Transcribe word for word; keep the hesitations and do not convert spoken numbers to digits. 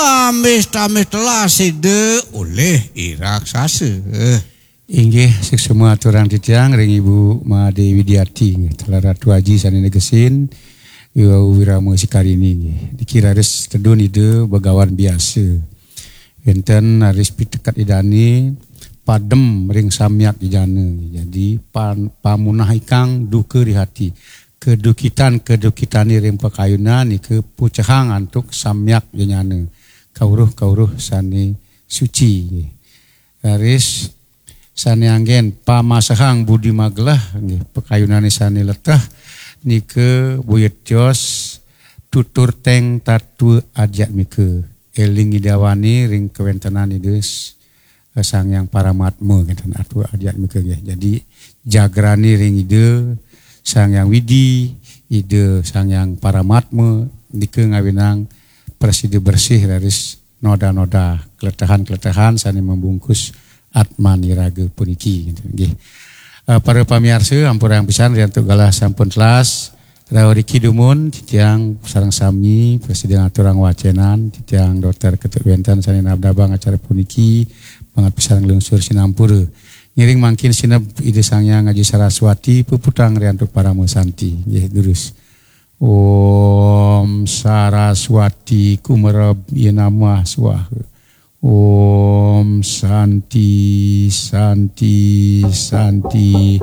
Ambis-ambis telah sida olih i raksasa. Inggih, suksma aturang titiang ring Ibu Made Widiati, nggih, telah Ratu Aji sane negesin, iwau Wirama Sikarini, nggih. Niki raris tedun Ida Begawan Biasa. Wenten raris piteket Idane padem ring samyak jejana. Jadi pan-, pamunah ikang duka di hati. Kedukitan-kedukitane ring pakayunan nika pucehang antuk samyak jejana. Kauruh-kauruh sane suci. Raris sane anggen pamasehang budi magelah, nggih, pakayunane sane leteh nika boya tios tutur teng tatua adiatmika. Eling Ida Wani ring kawentenan Ida s-, Sang Hyang Paramatma, ngenten, tatua adiatmika, nggih. Jadi jagrane ring Ida Sang Hyang Widi, Ida Sang Hyang Paramatma nika ngawinang prasida bersih raris noda-noda keletehan-keletehan sane membungkus atmaniraga puniki, ngenten, nggih. Eh, para pamiarsa, ampurang pisan riantuk galah sampun telas. Rauh riki dumun, titiang sareng sami prasida ngaturang wacenan, titiang Dokter Ketut Wenten sane nabdabang acara puniki, banget pisan nglungsur sinampura. Ngiring mangkin sineb Ida Sang Hyang Aji Saraswati, puputang riantuk parama santi. Nggih, durus. Om Saraswati Kumereb Yenamah Swaha. Om Santi, Santi, Santi.